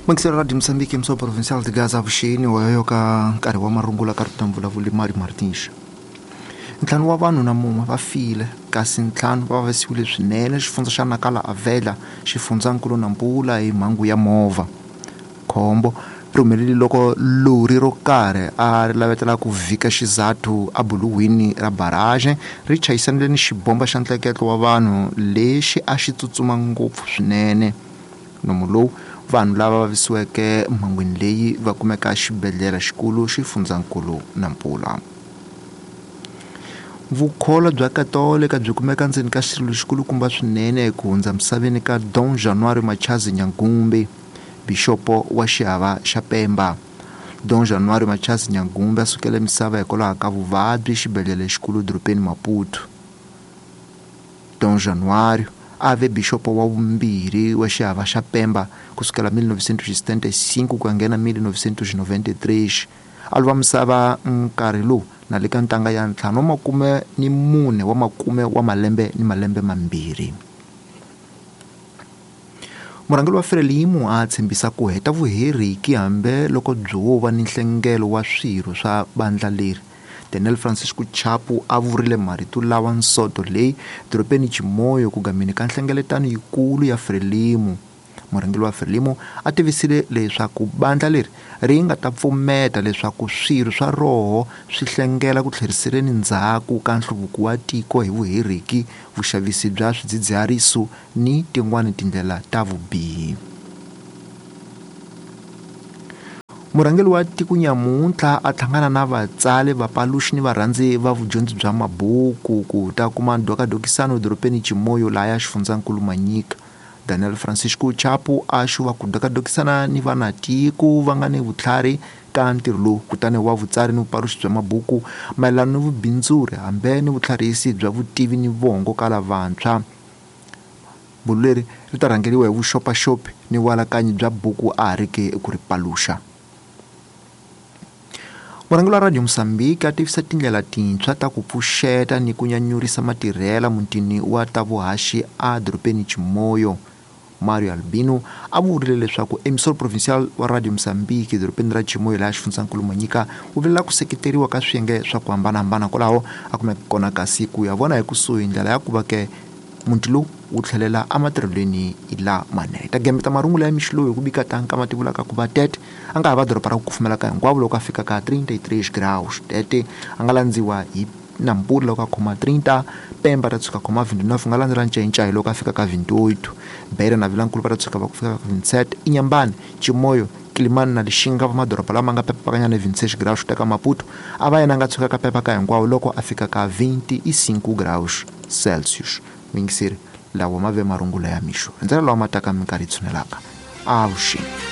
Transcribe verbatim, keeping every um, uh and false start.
Mangiselo Radio Mozambique emissora provincial de Gaza avuxeni wa ka nkarhi wa marungula ka rito vulavuli Mari Martins. Ntlhanu wa vanhu na mun'we va file kasi ntlhanu va vavisiwile swinene xifundza xa Nakala Avela xifundzankulu Nampula hi mhangu ya movha. Khombo ri humelele loko lori ro karhi a ri lavetela ku vhika xizathu ebuluwini ra barrage ri chayisanile ni xibomba xa ntleketlo wa vanhu lexi a xi tsutsuma ngopfu swinene. Nomu lowu vanhu lava vavisiweke mhangwini leyi va kumeka xibedhlele xikulu xifundzankulu Nampula. Vukholo bya Katolika byi kumeka ndzeni ka xirilo xikulukumba swinene ku hundza misaveni ka Dom Januário Machazi Nyangumbe, bixopo wa xihava xa Pemba. Dom Januário Machazi Nyangumbe a sukele misava hikwalaho ka vuvabyi xibedhlele xikulu dorobeni Maputo. Dom Januário a ve bixopo wa vumbirhi wa xihava xa Pemba kusukela mil novecentos e setenta e cinco ku ya nghena mil novecentos e noventa e três. A lova misava nkarhi lowu na le ka ntanga ya ntlhanu wa makume ni mune wa makume wa malembe ni malembe mambirhi. Murhangeri wa Frelimo a tshembisa ku heta vuheriki hambi loko byo va ni nhlengelo wa swirho swa bandla leri. Daniel Francisco Chapo a vurile marito lawa nsoto leyi dorobeni Chimoio ku gameni ka nhlengeletano yikulu ya Frelimo. Murhangeri wa Frelimo a tivisile leswaku bandla leri ri nga ta pfumeta leswaku swirho swa roho swi hlengela ku tlheriseleni ndzhaku ka nhluvuko wa tiko hi vuheriki, vuxavisi bya swidzidziharisi ni tin'wani tindlela ta vubihi. Murhangeri wa tiko nyamuntlha a hlangana na vatsali, vapaluxi ni varhandzi va vudyondzi bya mabuku ku ta kuma ndhokadokisano edorobeni Chimoio laha xifundzankulu Manyika. Daniel Francisco Chapo a xuva ku dokadokisana ni vanatiko va nga ni vutlhari ka ntirho lowu kutani wa vutsari ni vupaluxi bya mabuku mayelana ni vubindzuri hambi ni vutlharisi bya vutivi ni vongo ka lavantshwa. Bulo leri ri ta rhangeriwa hi vuxopaxopi ni vualakanyi bya buku a ha ri ke ku ri paluxa. Murhangeri wa Radio Mozambique a tivisa tindlela tintshwa ta ku pfuxeta ni ku nyanyurisa matirhela mutini wa ta vuhaxi a dorobeni Chimoio. Mario Albino a vurile leswaku emissor provincial wa Radio Mozambique dorobeni ra Chimoio laha xifundzankulu Manyika wu vilela ku seketeriwa ka swiyenge swa ku hambanahambana kwalaho a kumeka kona kasi ku ya vona hi kusuhi ndlela ya ku va ke muti lowu wu tlhelela ematirhelweni lamanene. Ta gembeta marungula ya mixo lowu hi ku bika tanka ma tivulaka ku va Tete a nga ha va doroba ra ku kufumela ka hinkwavo loko a fika ka trinta e três graus. Tete a nga landziwa hi Nampula loko a khoma trinta, Pemba ta tshuka khoma vinte e nove, nga landzela Ncayincai loko a fika ka vinte e oito, Beira na Vilankulu va ta tshuka va ku fika ka vinte e sete, Inhambane, Chimoio, Quelimane na Lixinga va madoroba lama nga pepakanyana vinte e seis graus teka Maputo a va yena a nga tshuka ka pepa ka hinkwavo loko a fika ka vinte e cinco graus Celsius. Mingiseri lawa ma ve marungula ya mixo. Ndzela lawa ma taka minkarhi yi tshunelaka. Avuxeni.